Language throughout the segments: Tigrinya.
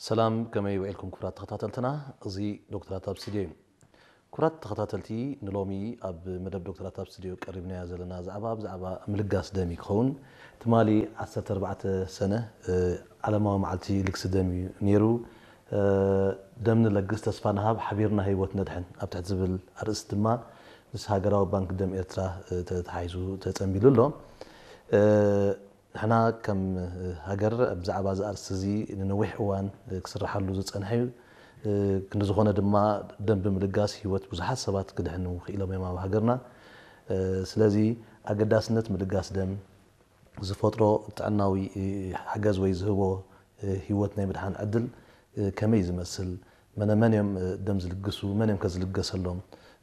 ሰላም፣ ከመይ ውዒልኩም ክቡራት ተኸታተልትና? እዚ ዶክተራት ኣብ ስቱድዮ እዩ። ክቡራት ተኸታተልቲ፣ ንሎሚ ኣብ መደብ ዶክተራት ኣብ ስቱድዮ ቀሪብናዮ ዘለና ዛዕባ ብዛዕባ ምልጋስ ደም እዩ ክኸውን። ትማሊ ዓሰርተ ኣርባዕተ ሰነ፣ እ፣ ዓለማዊ መዓልቲ ልግሲ ደም እዩ ነይሩ። እ፣ ደም ንለግስ፣ ተስፋ ንሃብ፣ ሓቢርና ህይወት ነድሕን ኣብ ትሕቲ ዝብል ኣርእስቲ ድማ ምስ ሃገራዊ ባንክ ደም ኤርትራ፣ እ፣ ተተሓሒዙ ተጸንቢሉ ኣሎ። እ፣ ንሕና ከም ሃገር ብዛዕባ እዚ ኣርእስቲ እዚ ንነዊሕ እዋን ክስርሓሉ ዝጸንሐ እዩ። ክንዲ ዝኾነ ድማ ደም ብምልጋስ ህይወት ብዙሓት ሰባት ክድሕኑ ክኢሎም እዮም ኣብ ሃገርና። ስለዚ ኣገዳስነት ምልጋስ ደም ዝፈጥሮ ጥዕናዊ ሓገዝ ወይ ዝህቦ ህይወት ናይ ምድሓን ዕድል ከመይ ዝመስል፣ መነ መን እዮም ደም ዝልግሱ፣ መን እዮም ከ ዝልገሰሎም፣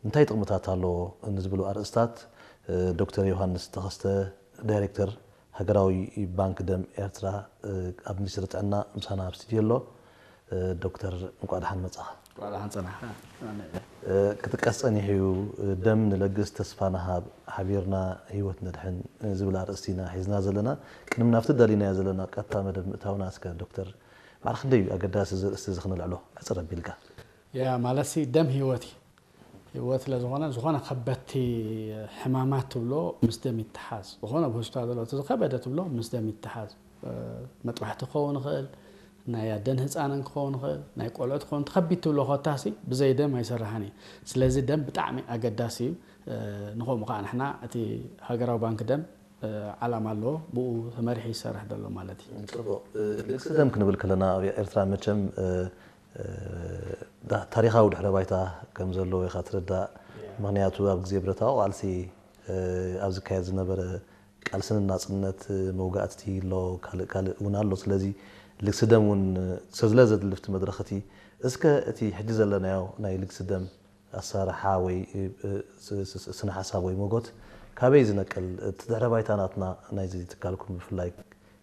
እንታይ ጥቕምታት ኣለዎ ንዝብሉ ኣርእስታት ዶክተር ዮሃንስ ተኸስተ ዳይሬክተር ሃገራዊ ባንክ ደም ኤርትራ ኣብ ሚኒስትሪ ጥዕና ምሳና ኣብ ስቱድዮ ኣሎ። ዶክተር እንቋዕ ደሓን መጻኻ። እንቋዕ ደሓን ጸናሕካ። ኣነ ክጥቀስ ጸኒሑ እዩ። ደም ንለግስ ተስፋ ንሃብ ሓቢርና ህይወት ነድሕን ዝብል ኣርእስቲ ኢና ሒዝና ዘለና። ቅድሚ ናብቲ ደሊናዮ ዘለና ቀጥታ መደብ ምእታውና እስከ ዶክተር ማዕረ ክንደይ እዩ ኣገዳሲ እዚ ኣርእስቲ እዚ ክንልዕሎ ሕጽር ኣቢልካ? ያ ማለትሲ ደም ህይወት እዩ። ህይወት ስለ ዝኾነ ዝኾነ ከበድቲ ሕማማት ትብሎ ምስ ደም ይተሓዝ። ዝኾነ ኣብ ሆስፒታል ዘሎ እቲ ዝኸበደ ትብሎ ምስ ደም ይተሓዝ። መጥባሕቲ ክኸውን ይኽእል፣ ናይ ኣደን ህፃንን ክኸውን ይኽእል፣ ናይ ቆልዑት ክኸውን፣ ተኸቢድ ትብሎ ኮታሲ ብዘይ ደም ኣይሰርሓን እዩ። ስለዚ ደም ብጣዕሚ ኣገዳሲ እዩ። ንኸምኡ ከዓ ንሕና እቲ ሃገራዊ ባንክ ደም ዓላማ ኣለዎ፣ ብኡ ተመሪሑ ይሰርሕ ዘሎ ማለት እዩ። ጽቡቕ። ልግሲ ደም ክንብል ከለና ኣብ ኤርትራ መቸም ታሪኻዊ ድሕረ ባይታ ከም ዘለዎ ኢኻ ትርዳእ። ምኽንያቱ ኣብ ግዜ ብረታዊ ቃልሲ ኣብ ዝካየድ ዝነበረ ቃልሲ ንናጽነት መውጋእቲ ኣሎ፣ ካልእ ካልእ እውን ኣሎ። ስለዚ ልግሲ ደም እውን ስለ ዘድልፍቲ መድረኽቲ እስከ እቲ ሕጂ ዘለናዮ ናይ ልግሲ ደም ኣሰራርሓ ወይ ስነ ሓሳብ ወይ መጎት ካበይ ዝነቅል? እቲ ድሕረ ባይታ ናትና ናይዚ ትካልኩም ብፍላይ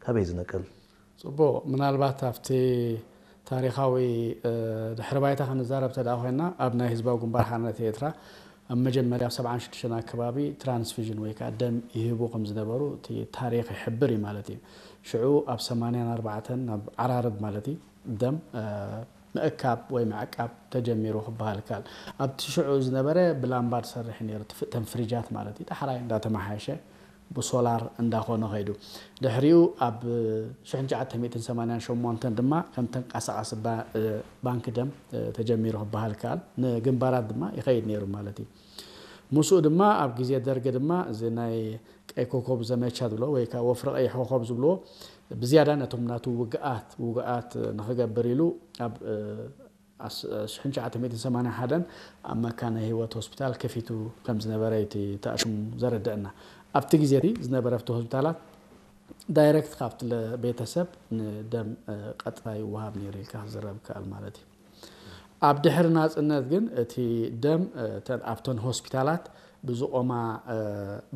ካበይ ዝነቅል? ጽቡቕ። ምናልባት ኣብቲ ታሪኻዊ ድሕሪ ባይታ ክንዛረብ ተደኣ ኮይና ኣብ ናይ ህዝባዊ ግንባር ሓርነት ኤርትራ ኣብ መጀመርያ ኣብ ሰብዓን ሽዱሽተን ኣከባቢ ትራንስፊዥን ወይ ከዓ ደም ይህቡ ከም ዝነበሩ እቲ ታሪኽ ይሕብር እዩ ማለት እዩ። ሽዑ ኣብ ሰማንያን ኣርባዕተን ናብ ዓራርብ ማለት እዩ ደም ምእካብ ወይ ምዕቃብ ተጀሚሩ ክበሃል ይከኣል። ኣብቲ ሽዑ ዝነበረ ብላምባ ዝሰርሕ ነይሩ፣ ተን ፍሪጃት ማለት እዩ። ዳሕራይ እንዳተመሓየሸ ብሶላር እንዳኾነ ኸይዱ። ድሕሪኡ ኣብ ሽሕን ትሽዓተ ሚእትን ሰማንያን ሸሞንተን ድማ ከም ተንቀሳቓሲ ባንኪ ደም ተጀሚሩ ክበሃል ይከኣል። ንግንባራት ድማ ይኸይድ ነይሩ ማለት እዩ። ምስኡ ድማ ኣብ ግዜ ደርጊ ድማ እዚ ናይ ቀይ ኮኮብ ዘመቻ ዝብሎ ወይ ከዓ ወፍሪ ቀይሕ ኮኮብ ዝብልዎ ብዝያዳ ነቶም ናቱ ውግኣት ውግኣት ንኽገብር ኢሉ ኣብ ሽሕን ትሽዓተ ሚእትን ሰማንያን ሓደን ኣብ መካነ ህይወት ሆስፒታል ከፊቱ ከም ዝነበረ እዩ እቲ ተኣሽሙ ዘረድአና። ኣብቲ ግዜ እቲ ዝነበረ ኣብቲ ሆስፒታላት ዳይረክት ካብቲ ቤተሰብ ንደም ቀጥታ ይወሃብ ነይሩ ኢልካ ክዝረብ ይከኣል ማለት እዩ። ኣብ ድሕሪ ናጽነት ግን እቲ ደም ኣብተን ሆስፒታላት ብዝቆማ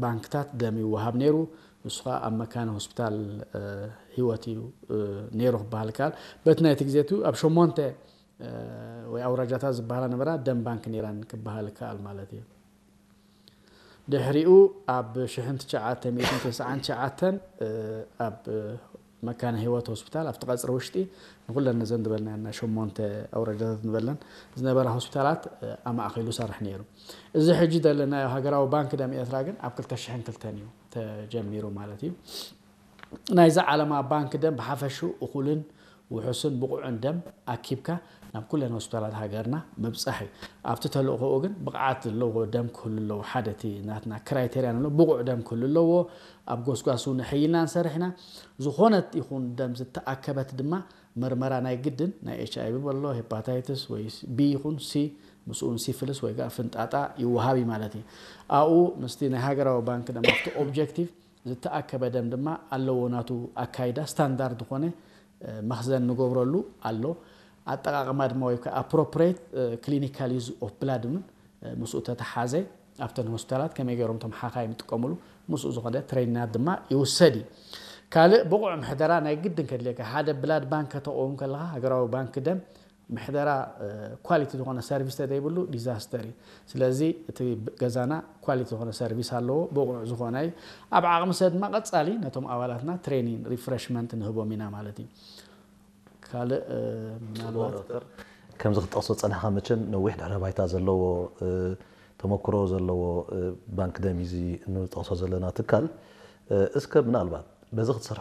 ባንክታት ደም ይወሃብ ነይሩ። ንሱ ከዓ ኣብ መካነ ሆስፒታል ህይወት እዩ ነይሩ ክበሃል ይከኣል። በቲ ናይቲ ግዜ እቲ ኣብ ሸሞንተ ወይ ኣውራጃታት ዝበሃላ ነበራ ደም ባንክ ነይረን ክበሃል ይከኣል ማለት እዩ። ድሕሪኡ ኣብ ሽሕን ትሽዓተ ሚእትን ተስዓን ትሽዓተን ኣብ መካነ ህይወት ሆስፒታል ኣብቲ ቀፅሪ ውሽጢ ንኩለን ነዘን ዝበልናየን ናይ ሸሞንተ ኣውራጃታት ንበለን ዝነበራ ሆስፒታላት ኣማእኪሉ ሰርሕ ነይሩ። እዚ ሕጂ ዘለናዮ ሃገራዊ ባንክ ደም ኤርትራ ግን ኣብ ክልተ ሽሕን ክልተን እዩ ተጀሚሩ ማለት እዩ። ናይዚ ዓለማ ባንክ ደም ብሓፈሽኡ እኹልን ውሑስን ብቑዕን ደም ኣኪብካ ናብ ኩለን ሆስፒታላት ሃገርና ምብጻሕ እዩ። ኣብቲ ተልእኾኡ ግን ብቕዓት ዘለዎ ደም ክህሉ ኣለዎ። ሓደ እቲ ናትና ክራይቴርያ ንብሎ ብቑዕ ደም ክህሉ ኣለዎ። ኣብ ጎስጓስ እውን ሕይልና ንሰርሕ ኢና። ዝኾነት ይኹን ደም ዝተኣከበት ድማ ምርመራ ናይ ግድን ናይ ኤች ኣይ ቪ በሎ ሄፓታይትስ ወይ ቢ ይኹን ሲ ምስኡን ሲፍልስ ወይ ከዓ ፍንጣጣ ይወሃብ እዩ ማለት እዩ። ኣብኡ ምስቲ ናይ ሃገራዊ ባንክ ደም ኣብቲ ኦብጀክቲቭ ዝተኣከበ ደም ድማ ኣለዎ ናቱ ኣካይዳ ስታንዳርድ ዝኾነ መኽዘን ንገብረሉ ኣሎ። ኣጠቓቕማ ድማ ወይ ከዓ ኣፕሮፕሬት ክሊኒካል ዩዝ ኦፍ ብላድ እውን ምስኡ ተተሓዘ ኣብተን ሆስፒታላት ከመይ ገይሮም እቶም ሓኻይም ይጥቀምሉ ምስኡ ዝኾነ ትሬኒናት ድማ ይውሰድ እዩ። ካልእ ብቑዕ ምሕደራ ናይ ግድን ከድልየካ ሓደ ብላድ ባንክ ከተቕውም ከለኻ ሃገራዊ ባንክ ደም ምሕደራ ኳሊቲ ዝኾነ ሰርቪስ ተዘይብሉ ዲዛስተር እዩ። ስለዚ እቲ ገዛና ኳሊቲ ዝኾነ ሰርቪስ ኣለዎ፣ ብቑዕ ዝኾነ እዩ። ኣብ ዓቕሚ ሰብ ድማ ቀጻሊ ነቶም ኣባላትና ትሬኒንግ ሪፍሬሽመንት ንህቦም ኢና ማለት እዩ። ካልእ ምናልባት ከምዚ ክትጠቕሶ ጸኒሕካ መቸም ነዊሕ ድሕረ ባይታ ዘለዎ ተመክሮ ዘለዎ ባንክ ደም እዚ እንጠቕሶ ዘለና ትካል እስከ ምናልባት በዚ ክትሰርሕ